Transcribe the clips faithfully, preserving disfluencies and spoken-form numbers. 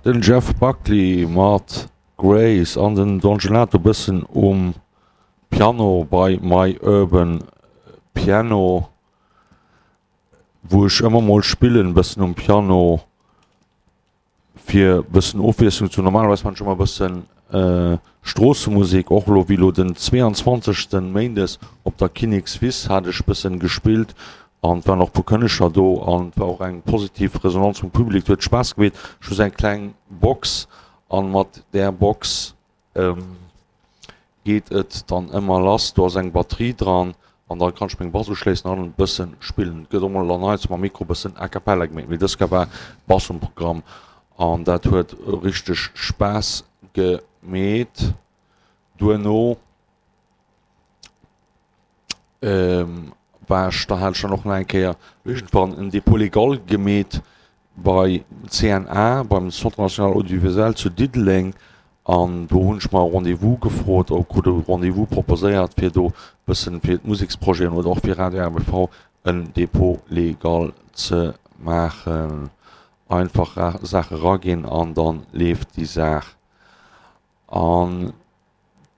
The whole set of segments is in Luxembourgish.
Den Jeff Buckley mat Grace an den Don Gelato bëssen um Piano bei My Urban Piano, wou ech ëmmer mol spillen bëssen um Piano fir bëssen Ofwiesslung ze hunn. Normalerweis man ech ëmmer bëssen Stroossemusek, och elo wéi elo den zweeanzwanzegsten Méindes op der Kinnekswiss hat ech bëssen gespillt an et waren och puer Kënneger do an et war och eng positiv Resonanz vum Public, et huet Spaass gemeet. Ech hu sou eng kleng Box an mat där Box geet et dann ëmmer lass. Do ass eng Batterie dran an da kann ech meng Bass uschléissen an e bëssen spillen. Et gëtt och mol dann heiansdo mam Mikro bëssen a cappella gemeet, mee dës Kéier war Bass um Programm an dat huet richteg Spaass gemeet. Duerno war ech, da hat ech dann och nach eng Kéier iergendwann en Dépôt légal gemeet bei C N A, beim Centre National Audiovisuel zu Diddeleng an do hunn ech mer e Rendez-vous gefrot, oder krut e Rendez-vous proposéiert fir do bëssen fir d'Museksprojeten oder och fir Radio R B V en Dépôt légal ze maachen. Einfach Saache raginn an dann leeft déi Saach. An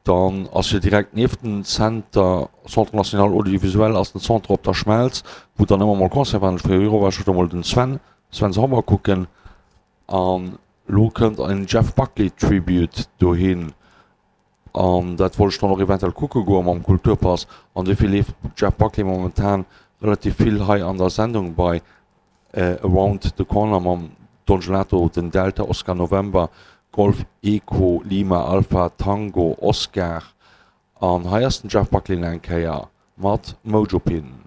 dann ass jo direkt nieft dem Zenter, Centre National Audiovisuel, ass den Centre op der Schmelz, wou dann ëmmer mol Concert waren. Ech war war ech do mol den Sven, Sven Sauber kucken. An lo kënnt en Jeff Buckley Tribute dohin. An dat wollt ech dann och eventuell kucke goe mam Kulturpass. An dofir leeft Jeff Buckley momentan relativ vill hei an der Sendung bei Around the Corner mam Don Gelato, den Delta Oscar November Golf Echo Lima Alpha Tango Oscar. An hei ass den Jeff Buckley nach eng Kéier mat Mojo Pin.